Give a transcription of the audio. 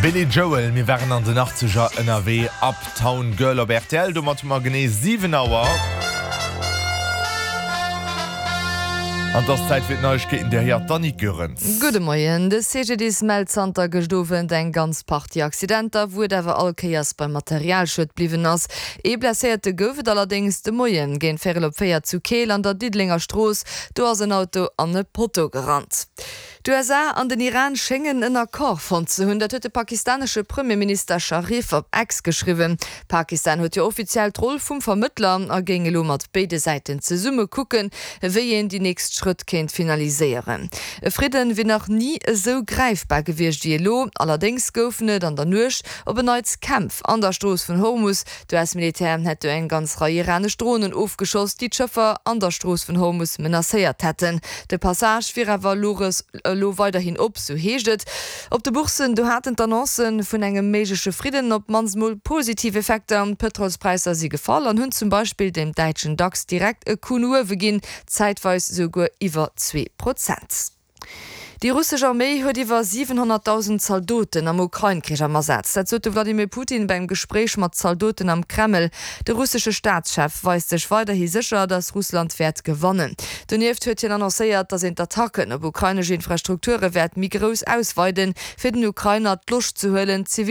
Billy Joel, Mir waren an den Achtzeger ënnerwee, Uptown Girl op rtl. Domat hu mer genee 7 Auer. An et ass Zäit fir d'Neiegkeeten, déi héiert d'Annick Goerens. Gudde Moien. De CGDIS mellt zanter gëscht Owend eng ganz Partie Accidenter, wou et awer all Kéiers beim Materialschued bliwwen ass. Ee Blesséierte gouf et allerdéngs de Moien géint véierel op 4 zu Keel an der Diddelenger Strooss. Do ass en Auto an e Potto gerannt. D'USA an den Iran schéngen en Accord fonnt ze hunn. Dat huet de pakistanesche Premierminister Sharif op X geschriwwen. Pakistan huet jo offiziell d'Roll vum Vermëttler a géing elo mat béide Säiten zesumme kucken, wéi een déi nächst Schrëtt kéint finaliséieren. E Fridden wier nach ni esou gräifbar gewiescht wéi elo. Allerdéngs goufen et an der Nuecht op en Neits Kämpf an der Strooss vun Hormus. D'US-Militär hätt do eng ganz Rei iranesch Dronen ofgeschoss, déi d'Schëffer an der Strooss vun Hormus menacéiert hätten. De Passage wier awer elo weiderhin op, sou heescht et. Op de Bourssen, do haten d'Annoncë vun engem méigleche Fridden op d'mannst mol positiv Effekter. D'Pëtrolspräisser si gefall an hunn zum Beispill dem däitschen Dax direkt e Coup no uewe ginn, zäitweis souguer iwwer 2%. Déi russesch Arméi huet iwwer 700.000 Zaldoten am Ukrain-Krich am Asaz. Dat sot de Wladimir Putin beim Gespréich mat Zaldoten am Kreml. De russesche Staatschef weist sech weiderhi sécher, datt Russland wäert gewannen. Donieft huet hien annoncéiert, datt een d'Attacken op ukrainesch Infrastrukture wäert méi grouss ausweiden, fir den Ukrainer d'Loscht ze huelen, zivil.